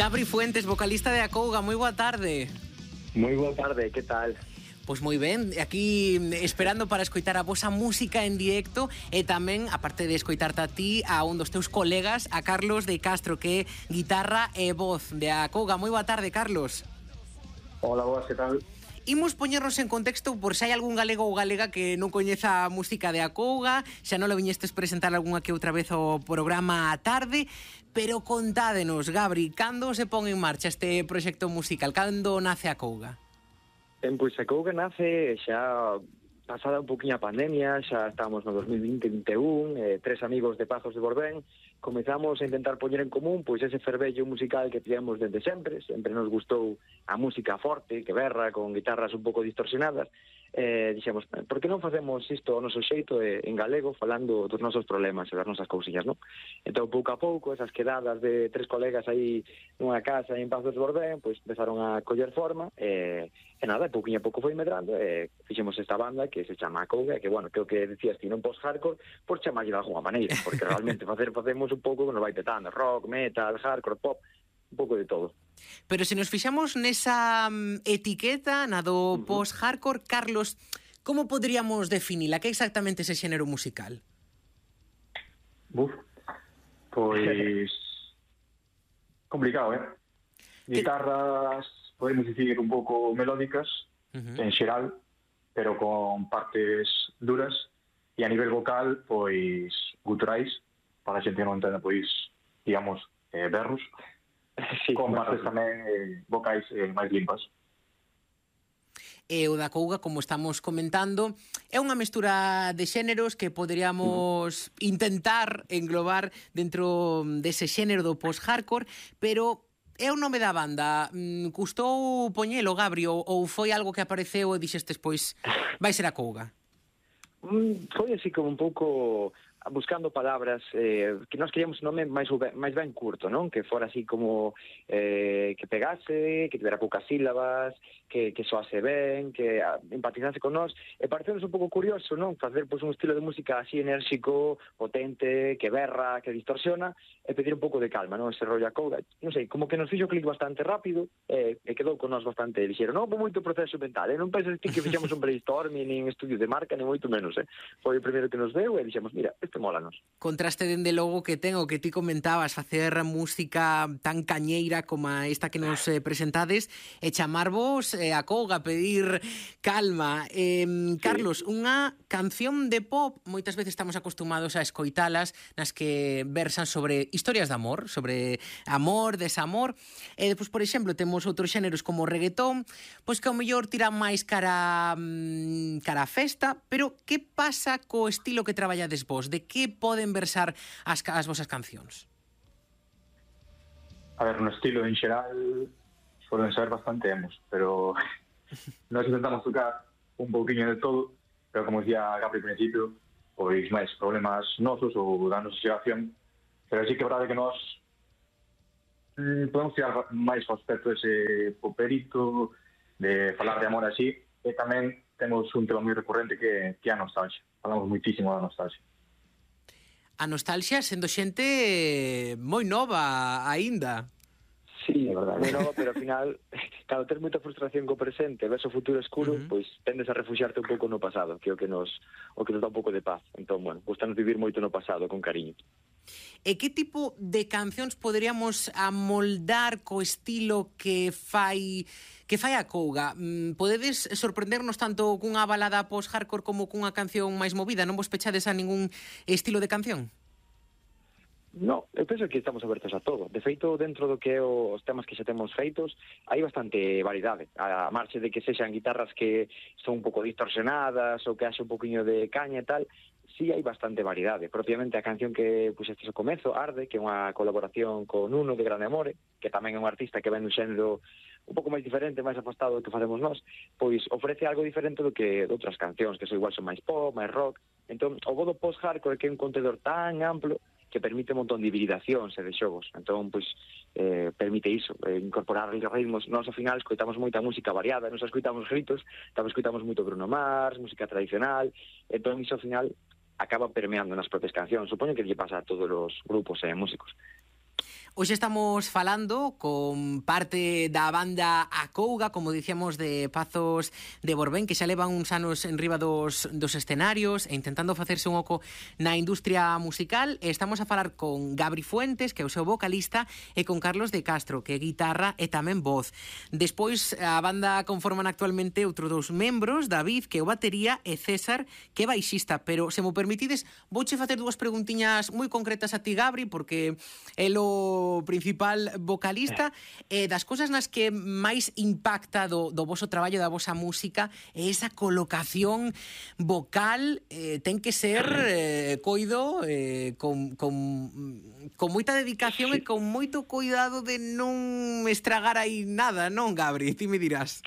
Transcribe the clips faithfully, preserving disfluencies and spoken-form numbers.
Gabri Fuentes, vocalista de Acouga, moi boa tarde. Moi boa tarde, que tal? Pois moi ben, aquí esperando para escoitar a vosa música en directo e tamén, aparte de escoitarte a ti, a un dos teus colegas, a Carlos de Castro, que é guitarra e voz de Acouga. Moi boa tarde, Carlos. Hola, boas, que tal? Imos poñernos en contexto por se hai algún galego ou galega que non coñeza a música de Acouga, xa non lo viñestes presentar algunha que outra vez o programa á tarde, pero contádenos, Gabri, cando se pon en marcha este proxecto musical? Cando nace Acouga? Ben, pois Acouga nace xa pasada un poquinho a pandemia, xa estamos no dos mil vinte vinte e un, eh, tres amigos de Pazos de Borbén, comezamos a intentar poñer en común pois ese fervello musical que tivemos desde sempre, sempre nos gustou a música forte, que berra, con guitarras un pouco distorsionadas, eh, dixemos, por que non facemos isto ao noso xeito eh, en galego, falando dos nosos problemas e das nosas cousiñas, non? Entón, pouco a pouco, esas quedadas de tres colegas aí nunha casa en Pazos de Borbén, pois empezaron a coller forma, e, e nada, pouquinho a pouco foi medrando, e fixemos esta banda que se chama Acouga, que, bueno, creo que decías ti, non post-hardcore, por chamarlle de alguna maneira, porque realmente facer facemos un pouco que nos vai petando, rock, metal, hardcore, pop, un pouco de todo. Pero se nos fixamos nesa um, etiqueta, na do uh-huh. post-hardcore, Carlos, como poderíamos definila? Que é exactamente ese xénero musical? Buf, pois... complicado, eh? Guitarras, podemos dicir, un pouco melódicas, uh-huh. en xeral, pero con partes duras, e a nivel vocal, pois, guturais, para a xente que non entenda, pois, digamos, eh, berros, sí, con partes tamén eh, vocais eh, máis limpas. E o da Acouga, como estamos comentando, é unha mestura de xéneros que poderíamos uh-huh. intentar englobar dentro dese xénero do post-hardcore, pero é o nome da banda. Custou poñelo, Gabri, ou, ou foi algo que apareceu e dixestes, pois, vai ser Acouga? Mm, foi así como un pouco buscando palabras, eh, que nós queríamos un nome máis, máis ben curto, non? Que fora así como eh, que pegase, que tivera poucas sílabas, que, que soase ben, que empatizase con nós, e parecemos un pouco curioso, non? Facer pois, un estilo de música así enérxico, potente, que berra, que distorsiona, e pedir un pouco de calma, non? Ese rollo Acouga, non sei, como que nos fixo clic bastante rápido, e, e quedou con nós bastante lixeiro. Non houve moito proceso mental, eh? Non penses ti que fixemos un brainstorming, nin estudio de marca, nin moito menos, eh? Foi o primeiro que nos veu e dixemos, mira, isto mólanos. Contraste dende logo que ten o que ti comentabas, facer música tan cañeira como esta que nos eh, presentades e chamarvos eh, Acouga, pedir calma. Eh, sí. Carlos, unha canción de pop, moitas veces estamos acostumados a escoitalas nas que versan sobre historias de amor, sobre amor, desamor, e depois, por exemplo, temos outros xéneros como o reggaetón, pois que ao mellor tiran máis cara, cara a festa, pero que pasa co estilo que traballades vos? De que poden versar as, as vosas cancións? A ver, no estilo en xeral suelen ser bastante emos, pero nós intentamos tocar un pouquinho de todo, pero como decía Gabri ao principio, pois máis problemas nosos ou da nosa xeración, pero sí que é verdade que nós mm, podemos tirar máis ao aspecto ese poperito de falar de amor así, e tamén temos un tema moi recurrente que, que é a nostalgia. Falamos muitísimo da nostalgia. A nostalgia sendo xente moi nova aínda. Sí, é verdade, moi nova, pero ao final, cando tens moita frustración co presente, ves o futuro escuro, uh-huh. pois tendes a refuxiarte un pouco no pasado, que é o que nos o que nos dá un pouco de paz. Entón, bueno, gustanos vivir moito no pasado, con cariño. E que tipo de cancións poderíamos amoldar co estilo que fai que fai Acouga? Podedes sorprendernos tanto cunha balada post-hardcore como cunha canción máis movida? Non vos pechades a ningún estilo de canción? No, eu penso que estamos abertos a todo. De feito, dentro do que é os temas que xa temos feitos, hai bastante variedade. A marxe de que sexan guitarras que son un pouco distorsionadas ou que haxe un poquinho de caña e tal, sí hai bastante variedade. Propiamente a canción que puxestes ao comezo, Arde, que é unha colaboración con Nuno de Grande Amore, que tamén é un artista que ven un xénero un pouco máis diferente, máis apostado do que facemos nós, pois ofrece algo diferente do que de outras cancións, que son igual son máis pop, máis rock. Entón, o bo do post-hardcore que é un contenedor tan amplo que permite un montón de hibridacións e de xogos. Entón, pois, eh, permite iso, eh, incorporar ritmos. Nós, ao final, escoitamos moita música variada, nos escoitamos gritos, tamén escoitamos moito Bruno Mars, música tradicional, entón, iso, ao final, acaba permeando nas propias cancións. Supoño que lle pasa a todos os grupos e eh, músicos. Hoxe estamos falando con parte da banda Acouga, como dicíamos, de Pazos de Borbén, que xa levan uns anos en riba dos, dos escenarios e intentando facerse un oco na industria musical. E estamos a falar con Gabri Fuentes, que é o seu vocalista, e con Carlos de Castro, que é guitarra e tamén voz. Despois, a banda conforman actualmente outros dous membros, David, que é o batería, e César, que é baixista. Pero, se mo permitides, vouche facer dúas preguntiñas moi concretas a ti, Gabri, porque é o principal vocalista, e das cousas nas que máis impacta do, do voso traballo, da vosa música, é esa colocación vocal, eh, ten que ser eh, coido eh, con, con, con moita dedicación e con moito cuidado de non estragar aí nada, non, Gabri? Ti me dirás.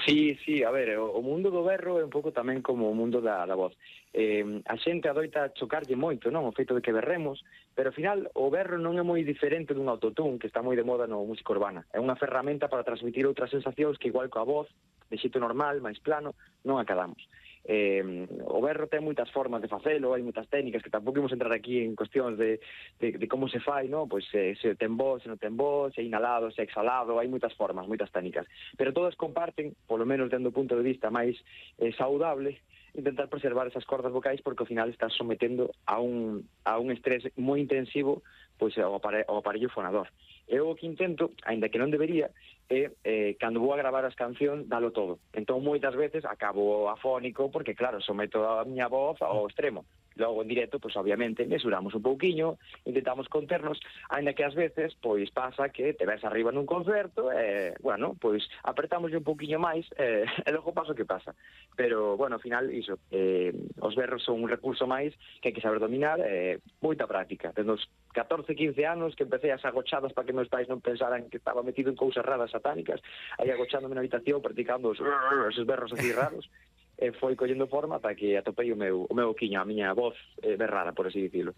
Sí, sí, a ver, o, o mundo do berro é un pouco tamén como o mundo da, da voz. Eh, a xente adoita chocarlle moito, non, o feito de que berremos, pero ao final o berro non é moi diferente dun autotune que está moi de moda no música urbana. É unha ferramenta para transmitir outras sensacións que igual coa voz, de xeito normal, máis plano, non acadamos. Eh, o berro ten moitas formas de facelo, hai moitas técnicas que tampouco imos entrar aquí en cuestións de, de, de como se fai, no? Pois eh, se ten voz, se non ten voz, se é inhalado, se é exhalado, hai moitas formas, moitas técnicas, pero todas comparten, polo menos dentro do punto de vista máis eh, saudable, intentar preservar esas cordas vocais, porque ao final estás sometendo a un, a un estrés moi intensivo pois ao, apare, ao aparello fonador. Eu o que intento, aínda que non debería, é, eh, cando vou a gravar as cancións, dalo todo. Entón, moitas veces, acabo afónico, porque, claro, someto a miña voz ao extremo. Logo, en directo, pois, obviamente, mesuramos un pouquiño, intentamos conternos, aínda que ás veces, pois, pasa que te ves arriba nun concerto, e, bueno, pois, apertamos un pouquiño máis, e, e logo pasa o que pasa. Pero, bueno, ao final, iso, eh, os berros son un recurso máis que hai que saber dominar, e, moita práctica. Desde os catorce, quince anos que empecé as agochadas para que meus pais non pensaran que estaba metido en cousas raras satánicas, aí agochándome na habitación, practicando os, esos berros así raros, e foi collendo forma ata que atopei o meu, o meu oquiño, a miña voz eh, berrada, por así dicilo.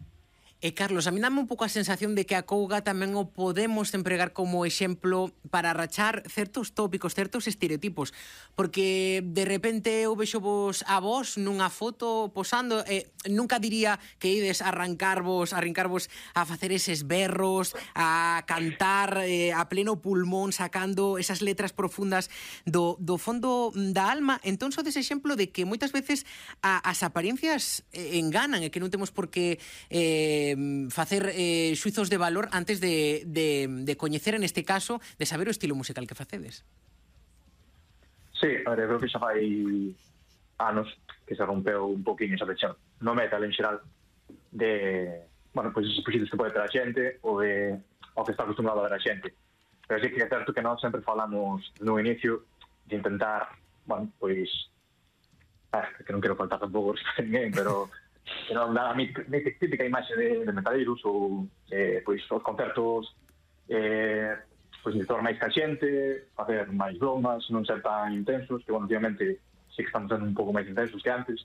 E, Carlos, a mí dame un pouco a sensación de que a Acouga tamén o podemos empregar como exemplo para rachar certos tópicos, certos estereotipos, porque de repente eu vexo vos a vos nunha foto posando e nunca diría que ides a arrancarvos, a arrancarvos a facer eses berros, a cantar eh, a pleno pulmón, sacando esas letras profundas do, do fondo da alma. Entón, sodes exemplo de que moitas veces a, as apariencias eh, enganan e que non temos por que eh, facer eh, xuizos de valor antes de, de, de coñecer, en este caso, de saber o estilo musical que facedes. Sí, a ver, eu creo que xa fai anos que se rompeu un poquinho esa lección no metal en xeral de, bueno, pois esos puxitos que pode ter a xente ou de o que está acostumbrado a ver a xente. Pero sí que é certo que nós sempre falamos no inicio de intentar, bueno, pois ah, que non quero faltar tampouco a ninguén, pero que non dá a mí típica imaxe de, de metaleiros ou eh, pois os concertos eh, pois de máis ca xente, facer máis bromas, non ser tan intensos, que bueno, obviamente sí que estamos sendo un pouco máis intensos que antes.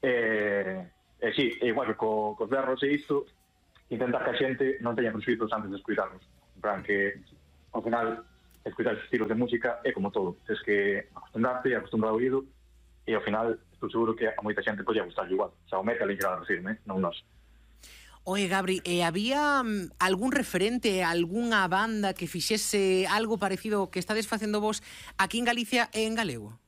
Eh, eh, sí, igual que co, cos berros e isto, intentar que a xente non teña presuizos antes de escutarnos. En plan que, ao final, escutar estes estilos de música é como todo. Tens que acostumbrarte e acostumbrar o oído, e ao final estou seguro que a moita xente podía gustar igual. O sea, o metal en geral, refirme, non nós. Oye, Gabri, eh, había um, algún referente, algunha banda que fixese algo parecido que estades facendo vos aquí en Galicia e en galego?